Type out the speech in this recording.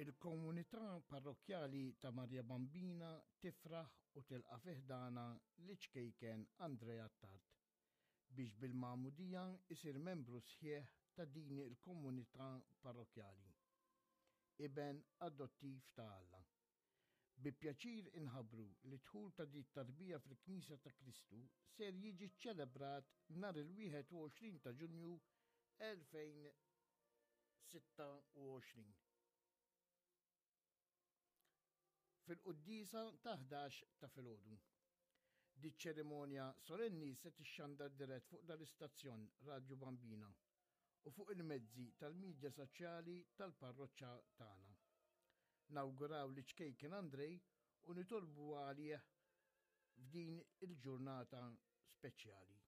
Il-komunità parrokkjali ta' Marja Bambina tifraħ u tilqa' fi ħdanha liċ-ċkejken Andrea Attard biex bil-magħmudija jsir membru sħiħ ta' din il-komunità parrokkjali. Iben adottiv ta' Alla. Bi pjaċir inħabbru li d-dħul ta' din it-tarbija fil-Knisja ta' Kristu ser jiġi ċċelebrat nhar il-21 ta' Ġunju 2026 fil-quddiesa ta' 11 ta' filgħodu. Diċ-ċerimonja solenni se tixxandar dirett fuq dal-istazzjon Radju Bambina u fuq il-mezzi tal-midja soċjali tal-parroċċa tagħna. Nawguraw liċ-ċkejken Andrej u nitolbu għalih f'din il-ġurnata speċjali.